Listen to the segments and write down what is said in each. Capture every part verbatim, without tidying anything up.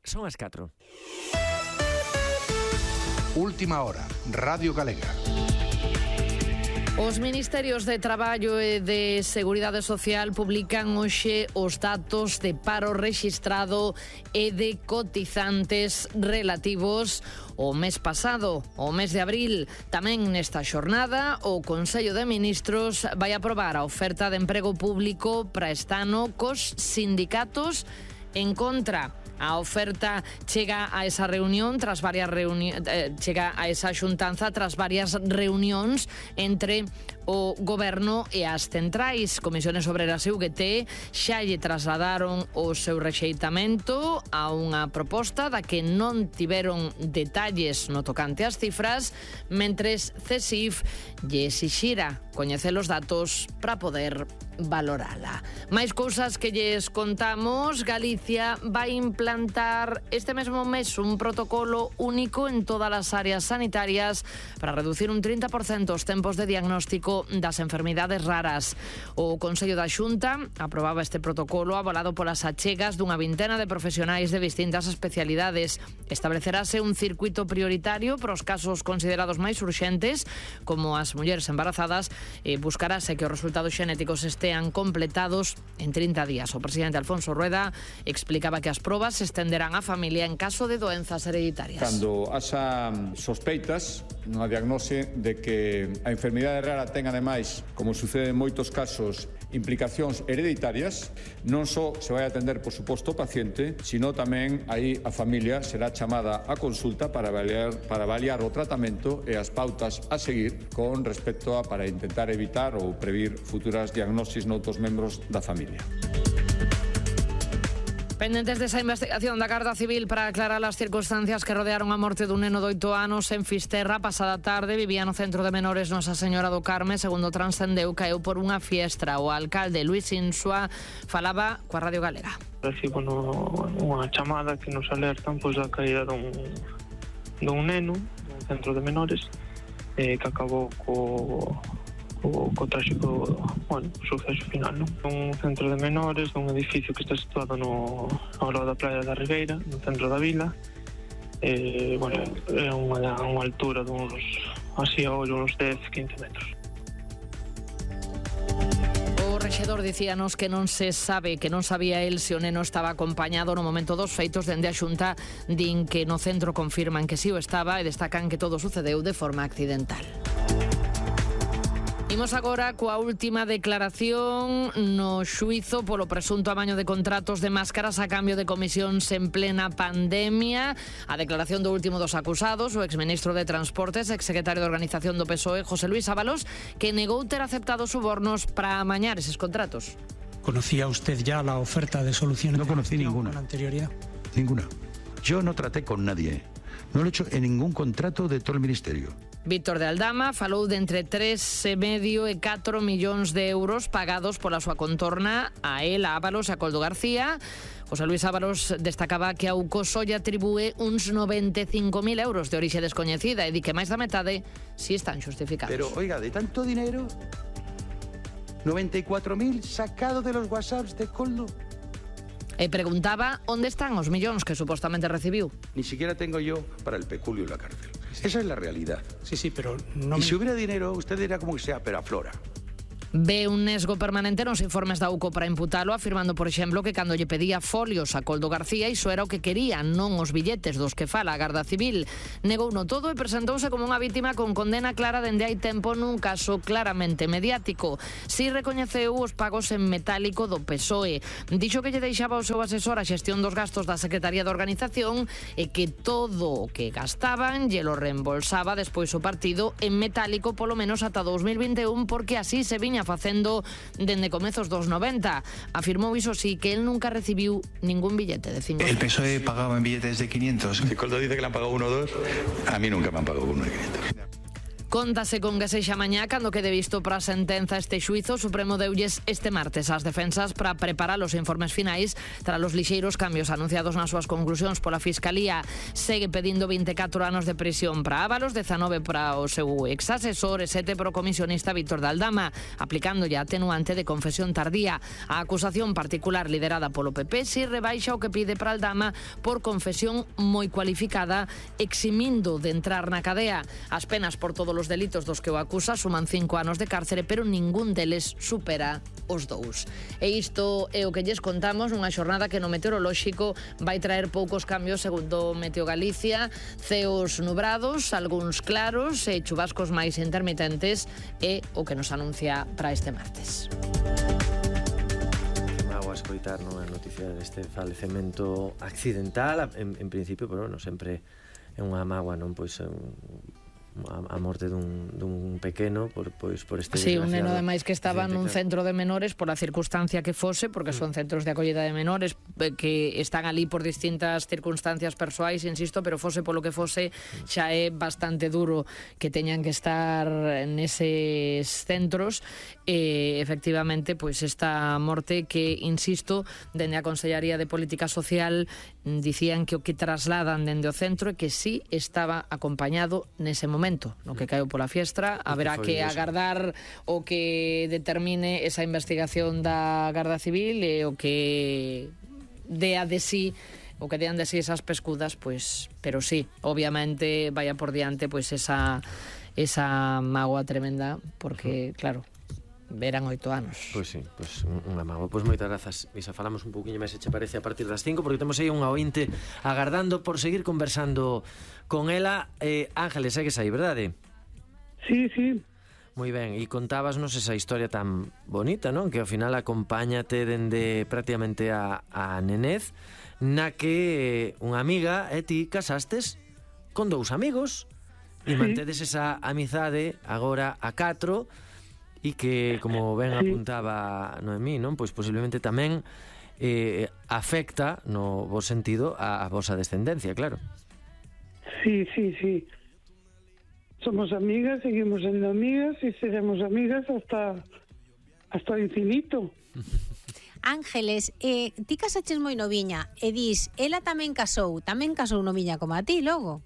Son as catro. Última hora, Radio Galega. Os Ministerios de Traballo e de Seguridade Social publican hoxe os datos de paro rexistrado e de cotizantes relativos ao mes pasado, ao mes de abril. Tamén nesta xornada, o Consello de Ministros vai aprobar a oferta de emprego público para este ano cos sindicatos en contra. A oferta chega a esa reunión tras varias reunións, eh, chega a esa xuntanza tras varias reunións entre o Goberno e as centrais. Comisiones Obreras e U G T xa lle trasladaron o seu rexeitamento a unha proposta da que non tiveron detalles no tocante ás cifras, mentres CESIF lle exixira coñecer os datos para poder valorala. Máis cousas que lles contamos. Galicia vai implantar este mesmo mes un protocolo único en todas as áreas sanitarias para reducir un trinta por cento os tempos de diagnóstico das enfermidades raras. O Consello da Xunta aprobaba este protocolo avalado polas achegas dunha vintena de profesionais de distintas especialidades. Establecerase un circuito prioritario para os casos considerados máis urxentes, como as mulleres embarazadas, e buscarase que os resultados xenéticos estean completados en trinta días. O presidente Alfonso Rueda explicaba que as probas se estenderán á familia en caso de doenzas hereditarias. Cando haxa sospeitas nunha diagnose de que a enfermidade rara ten ademais, como sucede en moitos casos, implicacións hereditarias, non só se vai atender, por suposto, o paciente, sino tamén aí a familia será chamada a consulta para avaliar, para avaliar o tratamento e as pautas a seguir con respecto a para intentar evitar ou previr futuras diagnosis noutros membros da familia. Pendentes desa investigación da Garda Civil para aclarar as circunstancias que rodearon a morte dun neno de oito anos en Fisterra pasada tarde, vivía no centro de menores Nosa Señora do Carme, segundo transcendeu, caeu por unha fiestra. O alcalde Luis Insua falaba coa Radio Galega. Recibo no, unha chamada que nos alertan pois da caída dun, dun neno no centro de menores eh, que acabou co o, co tráxico, bueno, suceso final, non? Un centro de menores, un edificio que está situado no, ao lado da praia da Ribeira, no centro da vila. Eh, bueno, é unha, unha altura duns, así a ollo, uns dez, quince metros. O rexedor dicíanos que non se sabe, que non sabía el se o neno estaba acompañado no momento dos feitos. Dende a Xunta din que no centro confirman que si o estaba e destacan que todo sucedeu de forma accidental. Imos agora coa última declaración no xuizo polo presunto amaño de contratos de máscaras a cambio de comisións en plena pandemia. A declaración do último dos acusados, o exministro de Transportes, exsecretario de Organización do P S O E, José Luis Ábalos, que negou ter aceptado subornos para amañar eses contratos. ¿Conocía usted ya la oferta de solución? No conocí ninguna. ¿Con anterioridad? Ninguna. Yo no traté con nadie. No lo he hecho en ningún contrato de todo el ministerio. Víctor de Aldama falou de entre tres e medio e catro millóns de euros pagados pola súa contorna a él, a Ábalos e a Coldo García. José Luis Ábalos destacaba que a Ucoso lle atribúe uns noventa e cinco mil euros de orixe descoñecida e di que máis da metade si están xustificados. Pero, oiga, de tanto dinero, noventa y cuatro mil sacado de los whatsapps de Coldo. E preguntaba onde están os millóns que supostamente recibiu. Ni siquiera tengo yo para el peculio en la cárcel. Esa es la realidad. Sí, sí, pero no y me... si hubiera dinero, usted dirá como que sea, pero aflora. Ve un nesgo permanente nos informes da U C O para imputalo, afirmando, por exemplo, que cando lle pedía folios a Coldo García iso era o que quería, non os billetes dos que fala a Garda Civil. Negouno todo e presentouse como unha vítima con condena clara dende hai tempo nun caso claramente mediático. Si recoñeceu os pagos en metálico do P S O E. Dixo que lle deixaba o seu asesor a xestión dos gastos da Secretaría de Organización e que todo o que gastaban lle lo reembolsaba despois o partido en metálico polo menos ata dous mil vinte e un, porque así se viña facendo dende comezos dos noventa. Afirmou iso sí que él nunca recibiu ningún billete de cinco. El P S O E pagaba en billetes de quinientos. Si Coldo dice que le han pagado uno o dos, a mí nunca me han pagado uno de quinientos. Contase con que sexa mañá cando quede visto para a sentenza este xuizo. O Supremo deulles este martes as defensas para preparar os informes finais tras os lixeiros cambios anunciados nas súas conclusións pola Fiscalía. Segue pedindo vinte e catro anos de prisión para Ábalos, dezanove para o seu exasesor e sete para o comisionista Víctor de Aldama, aplicándolle a atenuante de confesión tardía. A acusación particular liderada polo P P si rebaixa o que pide para Aldama por confesión moi cualificada, eximindo de entrar na cadea. As penas por todos os delitos dos que o acusa suman cinco anos de cárcere, pero ningún deles supera os dous. E isto é o que lles contamos nunha xornada que no meteorolóxico vai traer poucos cambios segundo Meteo Galicia, ceos nubrados, algúns claros e chubascos máis intermitentes é o que nos anuncia para este martes. Mago a escoitar a noticia deste falecemento accidental, en, en principio, pero non sempre é unha mágoa, non? Pois é un a morte dun, dun pequeno por, pois, por este sí, un neno ademais que estaba accidente, nun claro. centro de menores por a circunstancia que fose, porque son centros de acollida de menores que están ali por distintas circunstancias persoais, insisto, pero fose polo que fose, xa é bastante duro que teñan que estar neses centros. E efectivamente, pois esta morte que, insisto, dende a Consellería de Política Social dicían que o que trasladan dende o centro é que sí estaba acompañado nese momento no que caeu pola fiestra. Haberá que agardar o que determine esa investigación da Garda Civil e o que dea de sí o que dean de sí esas pescudas, pois, pero sí, obviamente vaya por diante pois esa esa mágoa tremenda, porque claro, verán oito anos. Pois sí, pois unha mágoa. Pois moitas grazas, Isa, falamos un pouquiño máis, se che parece, a partir das cinco, porque temos aí unha ointe agardando por seguir conversando con ela. eh, Ángeles, segues aí, verdade? Sí, sí. Moi ben, e contábasnos esa historia tan bonita, non? Que ao final acompáñate dende prácticamente a, a nenez, na que unha amiga e ti casastes con dous amigos e sí. Mantedes esa amizade agora a catro, e que, como ben sí. Apuntaba Noemí, non? Pois posiblemente tamén eh, afecta, no bo sentido, a, a vosa descendencia, claro. Sí, sí, sí. Somos amigas, seguimos sendo amigas e seremos amigas hasta hasta o infinito. Ángeles, eh, ti casaches moi noviña e dis, ela tamén casou, tamén casou noviña como a ti, logo?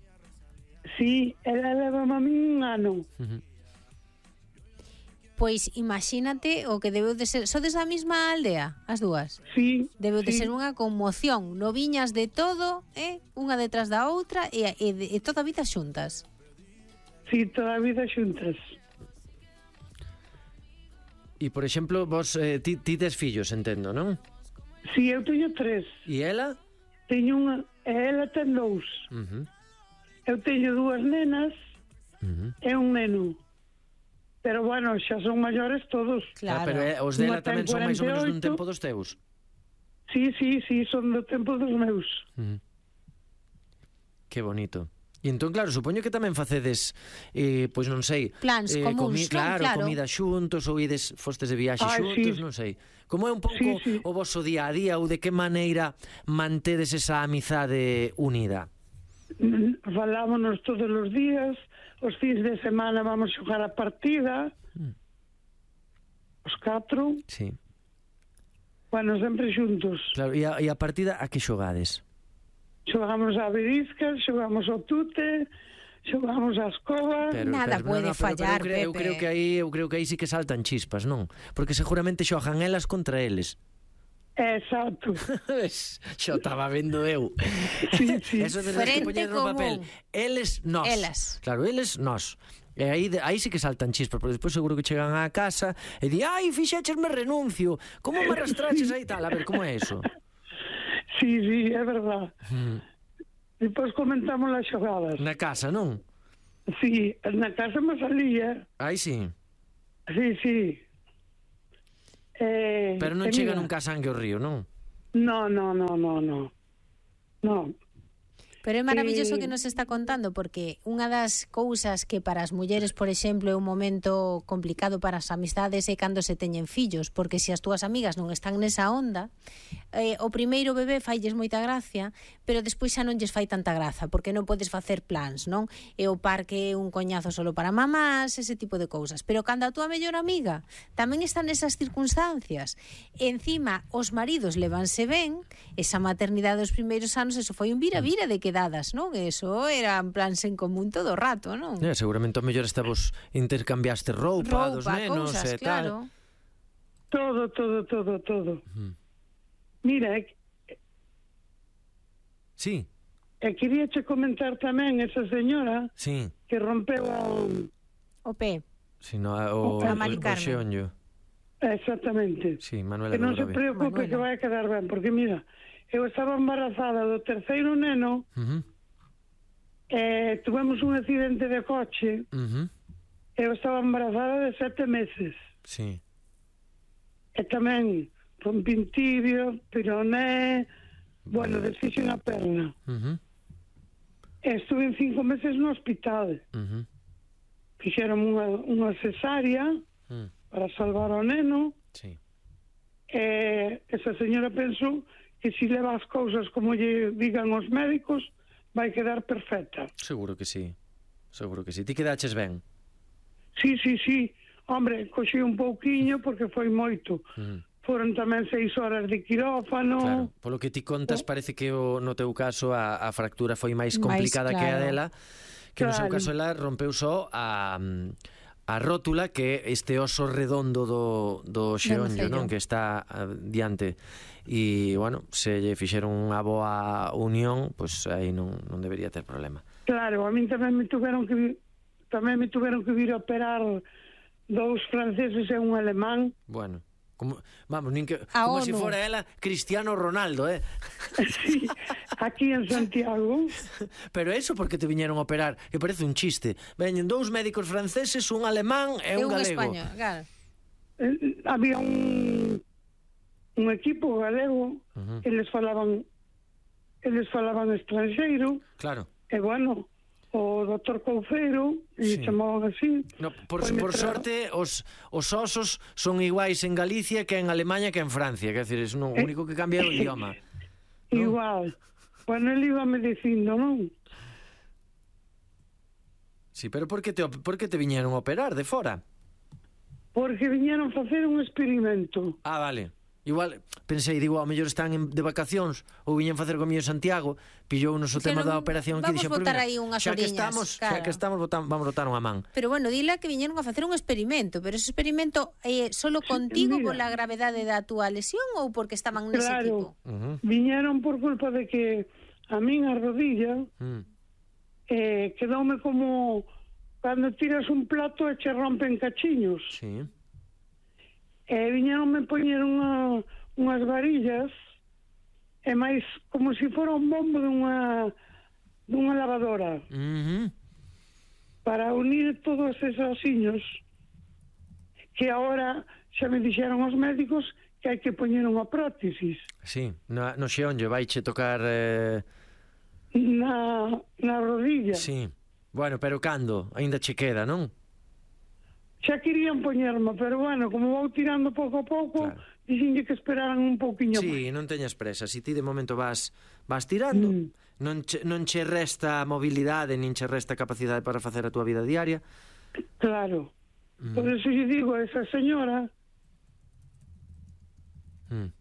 Sí, ela leva a mí un ano. Uh-huh. Pois imagínate o que debeu de ser. Sodes da mesma aldea, as dúas? Sí. Debeu de sí. ser unha conmoción. Noviñas de todo, eh? Unha detrás da outra e, e, e toda a vida xuntas. Sí, toda a vida xuntas. E, por exemplo, vos eh, ti, ti tes fillos, entendo, non? Sí, eu teño tres. E ela? Teño unha, e ela ten dous. Uh-huh. Eu teño dúas nenas uh-huh. e un neno. Pero, bueno, xa son maiores todos. Claro. Ah, pero eh, os dela tamén son máis ou menos dun tempo dos teus? Sí, sí, sí, son do tempo dos meus. Uh-huh. Que bonito. E entón, claro, supoño que tamén facedes, eh, pois non sei, plans eh, comuns, comi claro, claro, comida xuntos ou ides fostes de viaxe ah, xuntos, sí. non sei. Como é un pouco sí, sí. o voso día a día ou de que maneira mantedes esa amizade unida? Falámonos todos os días, os fins de semana vamos xogar a partida, mm. os catro. Sí. Bueno, sempre xuntos. Claro, e a, e a partida a que xogades? Xogamos a verisca, xogamos ao tute, xogamos a escoba. Pero, Nada pero, pode no, no, fallar, pero, pero, Pepe. Eu creo que aí, eu creo que aí sí que saltan chispas, non? Porque seguramente xogan elas contra eles. Exacto. Xo estaba vendo eu. Sí, sí. Eso de que poñer no papel. Eles, nós. Elas. Claro, eles, nós. E aí, aí sí que saltan chispas, porque despois seguro que chegan á casa e di, ai, fixéchesme renuncio, como me arrastraches aí tal? A ver, como é eso? Sí, sí, é verdad. Mm. Depois comentamos as xogadas. Na casa, non? Sí, na casa me salía. Aí sí. Sí, sí. Eh, Pero non chega nunca a sangue ao río, non? No, no, no, no, no. No. Pero é maravilloso Eh, que nos está contando, porque unha das cousas que para as mulleres, por exemplo, é un momento complicado para as amistades é cando se teñen fillos, porque se as túas amigas non están nesa onda, eh, o primeiro bebé failles moita gracia, pero despois xa non lles fai tanta graza, porque non podes facer plans, non? E o parque é un coñazo solo para mamás, ese tipo de cousas. Pero cando a túa mellor amiga tamén está nesas circunstancias, encima os maridos levanse ben, esa maternidade dos primeiros anos, eso foi un vira-vira de quedadas, non? Eso eran plans en común todo o rato, non? Eh, seguramente o mellor está vos intercambiaste roupa, Roupa, dos nenos cousas, e tal. claro. Todo, todo, todo, todo. Mm. Mira, e, Sí, e quería che comentar tamén esa señora sí. que rompeu a... O pé. Si no, o, A o, Mari o Carmen. xeonllo. Exactamente. Sí, Manuela Que non se Dobrovi. preocupe Manuela. que vai a quedar ben, porque mira, eu estaba embarazada do terceiro neno, Uh -huh. e tuvemos un accidente de coche, Uh -huh. eu estaba embarazada de sete meses. Sí. E tamén rompín tibio, pironé, bueno, desfixe unha perna. Uh -huh. E estuve en cinco meses no hospital. Uh -huh. Fixeron unha, unha cesárea Mm. para salvar ao neno. Sí. E esa señora pensou que se leva as cousas como lle digan os médicos, vai quedar perfecta. Seguro que sí. Seguro que sí. Ti quedaches ben. Sí, sí, sí. Hombre, coxí un pouquiño porque foi moito. Mm. Foron tamén seis horas de quirófano. Claro, polo que ti contas parece que o, no teu caso a, a fractura foi máis complicada Máis, que a claro. dela, que no seu Claro. caso ela rompeu só a a rótula, que é este oso redondo do, do xeonllo, nocello. non? Que está ah, diante. E, bueno, se lle fixeron unha boa unión, pois pues, aí non, non debería ter problema. Claro, a min tamén me tuveron que vi- tamén me tuveron que vir a operar dous franceses e un alemán. Bueno, como, vamos, nin que, A como se si ONU. fora ela Cristiano Ronaldo, eh? Sí, aquí en Santiago. Pero eso porque te viñeron a operar, que parece un chiste. Veñen dous médicos franceses, un alemán e É un un galego. español, claro. Eh, había un un equipo galego, Ujú. eles falaban eles falaban estranxeiro, Claro. e bueno, o doctor Couceiro, Sí. e chamaban así. No, por, Foi por metra- sorte, os, os osos son iguais en Galicia que en Alemania que en Francia. Quer dizer, es no, o único que cambia é o idioma. No. Igual. Bueno, ele iba me dicindo, non? Sí, pero por que te, op- por que te viñeron a operar de fora? Porque viñeron facer un experimento. Ah, vale. Igual, pensei, digo, ao mellor están en, de vacacións ou viñen facer comigo en Santiago, pillou nos o Que tema non- da operación que vamos dixo, botar "Pois aí unhas xa que oriñas, estamos, xa claro. que estamos botam, vamos botar unha man." Pero bueno, dile que viñeron a facer un experimento, pero ese experimento é eh, solo contigo mira. pola gravedade da túa lesión ou porque estaban nese Claro. equipo? Uh -huh. Viñeron por culpa de que a min a rodilla Mm. eh, quedoume como cando tiras un plato e che rompen cachiños. Sí. E viñeronme poñer unha, unhas varillas e máis como se fora un bombo dunha dunha lavadora Uh -huh. para unir todos esos osiños que agora xa me dixeron os médicos que hai que poñer unha prótesis Sí, no, no xeonllo vaiche tocar eh... na, na rodilla. Sí. Bueno, pero cando? Ainda che queda, non? Xa querían poñerme, pero bueno, como vou tirando pouco a pouco, Claro. dixenlle que esperaran un pouquiño máis. Sí, non teñas presa. Si ti de momento vas vas tirando, Mm. non che, non che resta mobilidade, nin che resta capacidade para facer a túa vida diaria. Claro. Mm. Por eso lle digo a esa señora, Mm.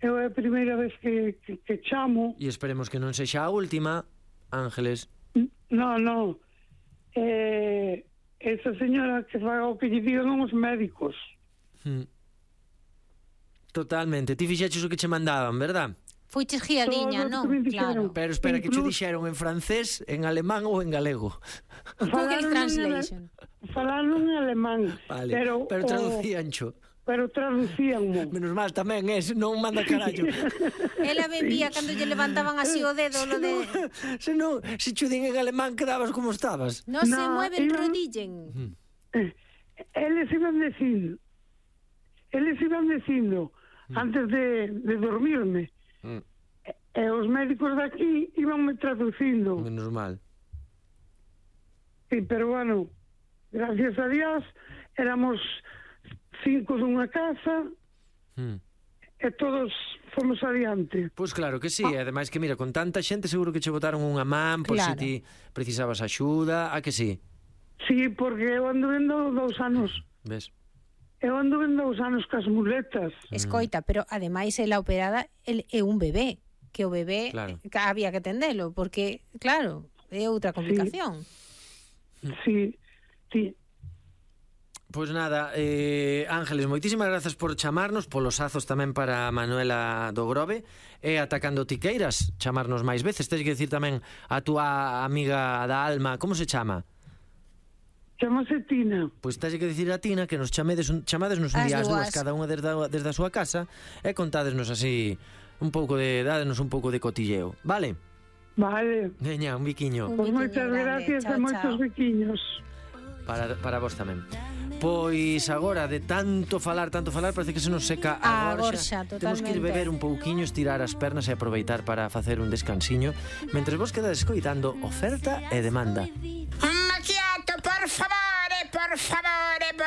eu é a primeira vez que, que, que chamo. E esperemos que non sexa a última, Ángeles. No, no. Eh, esa señora que faga o que lle digan os médicos. Mm. Totalmente. Ti fixeches o que che mandaban, verdad? Fuiches guiadiña, Todo o non? que me dixeron. Claro. Pero espera, que che Incluso- dixeron en francés, en alemán ou en galego? Google Falaron en Translation. ale- Falaron en alemán. Vale, pero, pero o- traducíancho. pero traducíanmo. Menos mal tamén, é, non manda carallo. Ela bebía cando lle levantaban así o dedo, lo de... Se non, se cho din en alemán quedabas como estabas. No, se No, mueven, iban- rodillen. Eh, eles iban dicindo, eles iban dicindo, antes de, de dormirme, Mm. E os médicos de aquí íbanme traducindo. Menos mal. Sí, pero bueno, gracias a Dios, éramos cinco dunha casa, Mm. e todos fomos adiante. Pois claro que sí, e ademais que mira, con tanta xente seguro que che botaron unha man por Claro. se ti precisabas axuda, a que sí? Sí, porque eu ando vendo dous anos. Ves? Eu ando vendo dous anos cas muletas. Escoita, pero ademais ela operada el, é un bebé, que o bebé Claro. ca- había que atendelo, porque, claro, é outra complicación. Sí, sí. Pois nada, eh, Ángeles, moitísimas grazas por chamarnos, polos azos tamén para Manuela do Grove, e atacando tiqueiras, chamarnos máis veces. Tens que decir tamén a túa amiga da alma, como se chama? Chamase Tina. Pois tens que decir a Tina que nos chamedes un, chamádesnos un As día as dúas, dúas. cada unha desde a, desde a súa casa, e contádesnos así un pouco de, dádenos un pouco de cotilleo, vale? Vale. Veña, un biquiño. Un Pois biquiño moitas grande. gracias Chao, e moitos chao. biquiños. Para, para vos tamén. Pois agora, de tanto falar, tanto falar, parece que se nos seca a A gorxa. gorxa, Temos que ir totalmente. beber un pouquiño, estirar as pernas e aproveitar para facer un descansiño, mentres vos quedades escoitando Oferta e Demanda. Un macchiato, por favore, por favore, por